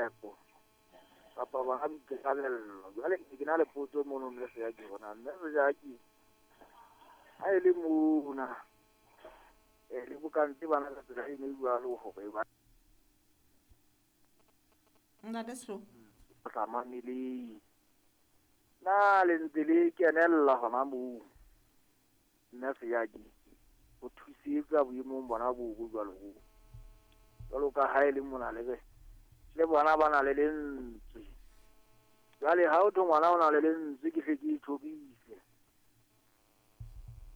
Nepo kapa bona boikarabello. Jwale ke ne ke na le potso mono mme Sejake hore na mme Sejake ha e le mona le bokantse bana ka tsela e jwalo hore ba Ntate Sehloho. Sa mameleng. Na le ntse le kenella hona moo mme Sejake ho thusetsa boemong bona bo bo jwalo bo. Jwalo ka ha e le mona le re le bona ba na le lentswe. Jwale ha o thwe ngwana o na le lentswe ke hle ke ithorise.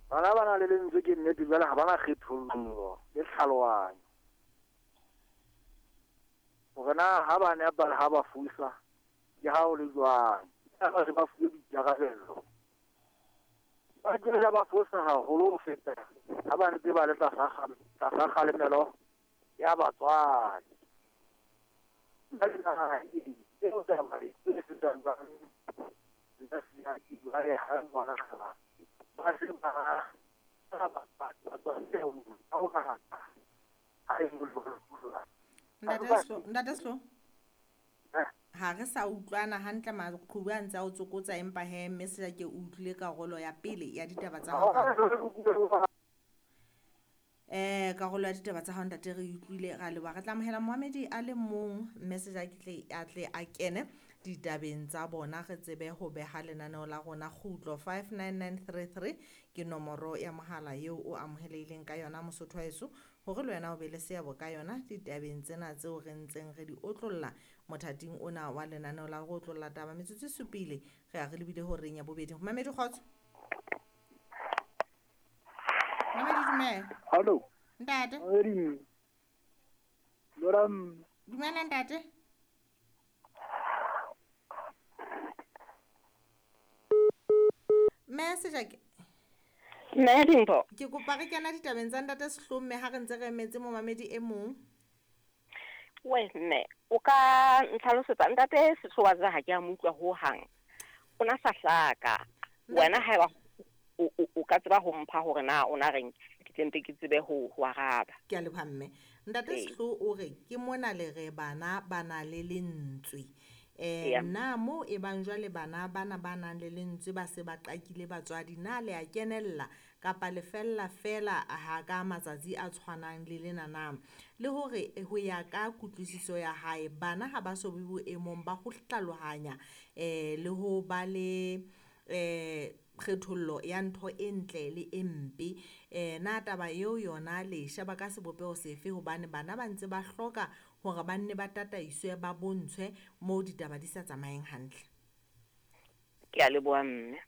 Bana ba na le lentswe ke nnete jwale ha bana kgethollo le tlhalohanyo. Hore na ha ba nepa le ha ba fosa ke ha o le jwang. Ba se ba fuwe boikarabello. Ba tlohela ba fosa haholo ho feta ha ba ntse ba le tlasa kgalemelo ya batswadi. Ntate Sehloho. Ha re sa utlwana hantle maqhubu a ntse a o tsokotsa empa he mme Sejake o utlwile karolo ya pele ya ditaba tsa hao. Karolo ya ditaba tsa hao ntate re utlwile ra leboha. Re tla amohela moamedi a le mong mme Sejake tle a tle a kene ditabeng tsa bona re tsebe ho beha lenaneo la rona kgutlo 59933 ke nomoro ya mohala eo o amohelehileng ka yona Mosotho wa heso hore le wena o be le seabo ka yona ditabeng tsena tseo re ntseng re di otlolla mothating ona wa lenaneo la go otlolla taba. Metsotso e supile re a re lebile horeng ya bobedi. Mamedi kgotso. Mamedi dumela. Hallo. Ntate. Mamedi. Loram. Dumela ntate. Mme Sejake. Mme Dimpho. Ke kopa re kena ditabeng tsa ntate Sehloho mme ha re ntse re emetse momamedi e mong. We mme o ka ntlhalosetsa ntate Sehloho wa tseba ha ke a mo utlwa ho hang. O na sa hlaka. Wena haeba o ka tseba ho mpha hore na o na reng ke tle mpe ke tsebe ho araba. Ke a leboha mme. Ntate Sehloho o re ke mona le re bana ba na le lentswe. Na mo e bang jwale bana bana ba nang le lentswe ba se ba qakile batswadi na le a kenella kapa le fella fela ha ka matsatsi a tshwanang le lena na? Le hore ho ya ka kutlwisiso ya hae bana ha ba so be boemong ba ho hlalohanya le ho ba le kgethollo ya ntho e ntle le e mpe. Na taba eo yona le sheba ka sebopeho sefe hobane bana ba ntse ba hloka hore ba nne ba tataiswe ba bontshwe moo ditaba di sa tsamayeng hantle? Ke a leboha mme.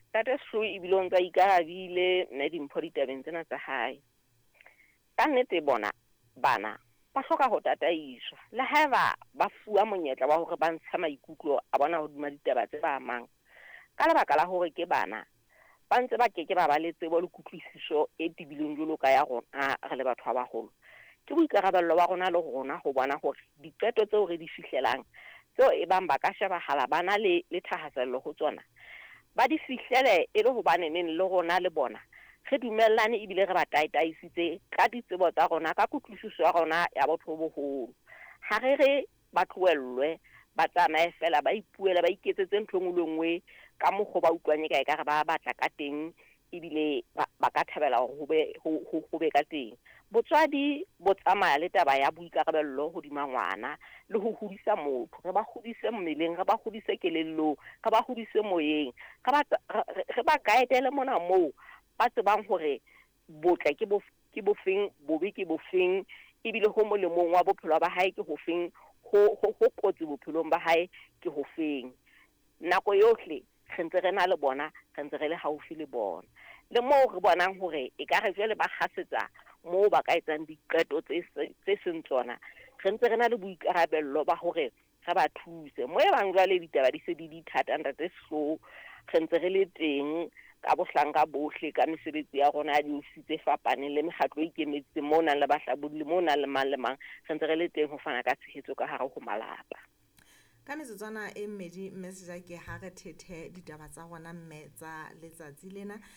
Ntate Sehloho ebile o ntse a ikarabile mme Dimpho ditabeng tsena tsa hae. Ka nnete bona bana ba hloka ho tataiswa le haeba ba fuwa monyetla wa hore ba ntshe maikutlo a bona hodima ditaba tse ba amang. Ka lebaka la hore ke bana ba ntse ba keke ba ba le tsebo le kutlwisiso e tebileng jwalo ka ya rona re le batho ba baholo. Ke boikarabello ba rona le rona ho bona hore diqeto tseo re di fihlelang tseo e bang ba ka shebahala ba na le thahasello ho tsona ba di fihlele e le hobane neng le rona le bona re dumellane ebile re ba taitaisitse ka ditsebo tsa rona ka kutlwisiso ya rona ya botho bo boholo. Ha re re ba tlohellwe ba tsamaye fela ba ipuele ba iketsetse ntho e nngwe le nngwe ka mokgwa ba utlwang e ka ekare ba batla ka teng ebile ba ka thabela hore ho be ka teng. Botswadi bo tsamaya le taba ya boikarabello hodima ngwana le ho hodisa motho. Re ba hodise mmeleng, re ba hodise kelellong, re ba hodise moyeng, re ba guide-ele mona moo ba tsebang hore botle ke bofeng, bobe ke bofeng, ebile ho molemong wa bophelo ba hae ke hofeng, ho kotsi bophelong ba hae ke hofeng. Nako yohle re ntse re na le bona, re ntse re le haufi le bona. Le moo re bonang hore ekare jwale ba kgasetsa moo ba ka etsang diqeto tse seng tsona, re ntse re na le boikarabello ba hore re ba thuse. Mo e bang jwale ditaba di se di di thata ntate Sehloho, re ntse re le teng ka bohlanka bohle ka mesebetsi ya rona ya diofisi tse fapaneng le mekgatlo e ikemetseng mo nang le bahlabolli mo nang le mang le mang, re ntse re le teng ho fana ka tshehetso ka hare ho malapa. Ka metsotswana e mmedi mme Sejake ha re thethe ditaba tsa rona mme tsa letsatsi lena.